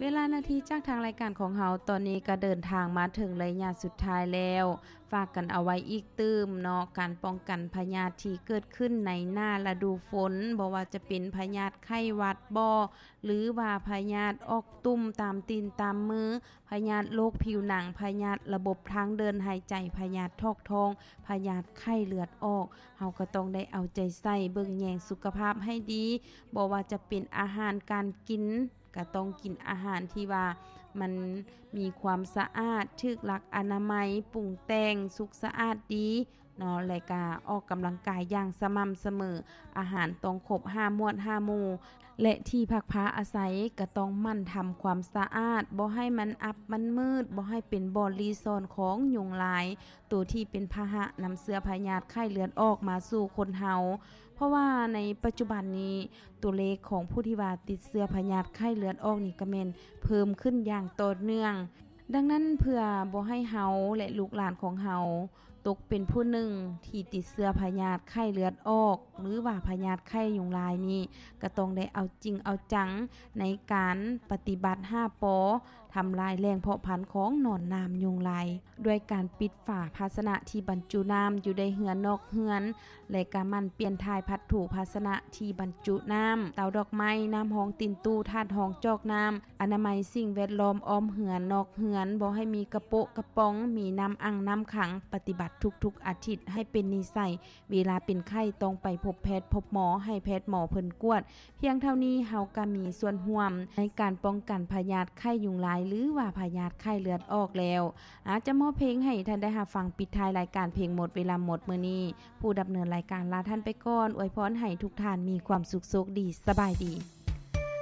ເວລານາທີຈາກທາງລາຍການຂອງເຮົາ ຕອນນີ້ກໍເດີນທາງມາເຖິງໄລຍະສຸດທ້າຍແລ້ວ. ຝາກກັນເອົາໄວ້ອີກຕື່ມເນາະ, ການປ້ອງກັນພະຍາດທີ່ເກີດຂຶ້ນໃນໜ້າລະດູຝົນ, ບໍ່ວ່າຈະເປັນພະຍາດໄຂ້ຫວັດບໍ ຫຼືວ່າພະຍາດອອກຕຸ່ມຕາມຕີນຕາມມື, ພະຍາດໂລກຜິວໜັງ, ພະຍາດລະບົບທາງເດີນຫາຍໃຈ, ພະຍາດຖອກທ້ອງ, ພະຍາດໄຂ້ເລືອດອອກ, ເຮົາກໍຕ້ອງໄດ້ເອົາໃຈໃສ່ເບິ່ງແຍງສຸຂະພາບໃຫ້ດີ. ບໍ່ວ່າຈະເປັນອາຫານການກິນ, ກໍຕ້ອງກິນອາຫານທີ່ວ່າມັນມີຄວາມສະອາດ, ຖືກຫຼັກອະນາໄມ, ປຸງແຕ່ງ, ສຸກສະອາດດີເນາະ, ແລະກະອອກກຳລັງກາຍຢ່າງສະໝ່ຳສະເໝີ, ອາຫານຕ້ອງຄົບຫ້າໝວດຫ້າໝູ່ ແລະທີ່ພັກພາອາໄສກໍຕ້ອງໝັ່ນທຳຄວາມສະອາດ, ບໍ່ໃຫ້ມັນອັບມັນມືດ, ບໍ່ໃຫ້ເປັນບ່ອນລີ້ຊ່ອນຂອງຍຸງລາຍ, ໂຕທີ່ເປັນພາຫະນຳເຊື້ອພະຍາດໄຂ້ເລືອດອອກມາສູ່ຄົນເຮົາ. ເພາະວ່າໃນປັດຈຸບັນນີ້ ຕົວເລກຂອງຜູ້ທີ່ວ່າຕິດເຊື້ອພະຍາດໄຂ້ເລືອດອອກນີ້ກໍແມ່ນເພີ່ມຂຶ້ນຢ່າງຕໍ່ເນື່ອງ. ດັ່ງນັ້ນ ເພື່ອບໍ່ໃຫ້ເຮົາ ແລະ ລູກຫຼານຂອງເຮົາຕົກເປັນຜູ້ໜຶ່ງທີ່ຕິດເຊື້ອພະຍາດໄຂ້ເລືອດອອກ ຫຼືວ່າພະຍາດໄຂ້ຍຸງລາຍນີ້ ກໍຕ້ອງໄດ້ເອົາຈິງເອົາຈັງໃນການປະຕິບັດຫ້າ ປ ທຳລາຍແຫຼ່ງເພາະພັນຂອງໜອນໜາມຍຸງລາຍ ດ້ວຍການປິດຝາພາຊະນະທີ່ບັນຈຸນ້ຳຢູ່ໃນເຮືອນນອກເຮືອນ ແລະກະໝັ່ນປ່ຽນຖ່າຍພັດຖູພາຊະນະທີ່ບັນຈຸນ້ຳ, ເຕົາດອກໄມ້, ນ້ຳຮອງຕີນຕູ້, ຖາດຮອງຈອກນ້ຳ, ອະນາໄມສິ່ງແວດລ້ອມອ້ອມເຮືອນນອກເຮືອນ, ບໍ່ໃຫ້ມີກະໂປະກະປ໋ອງ, ມີນ້ຳອັ່ງນ້ຳຂັງ, ປະຕິບັດທຸກໆອາທິດໃຫ້ເປັນນິໄສ. ເວລາເປັນໄຂ້ຕ້ອງໄປພົບແພດພົບໝໍ, ໃຫ້ແພດໝໍເພິ່ນກວດ. ພຽງເທົ່ານີ້ເຮົາກໍມີສ່ວນຮ່ວມໃນການປ້ອງກັນພະຍາດໄຂ້ຍຸງລາຍ ຫຼືວ່າພະຍາດໄຂ້ເລືອດອອກແລ້ວ. ອາດຈະມອບເພງໃຫ້ທ່ານໄດ້ຮັບຟັງປິດທ້າຍລາຍການເພງໝົດເວລາໝົດມື້ນີ້. ຜູ້ດຳເນີນລາຍການລາທ່ານໄປກ່ອນ, ອວຍພອນໃຫ້ທຸກທ່ານມີຄວາມສຸກໂຊກດີ. ສະບາຍດີ.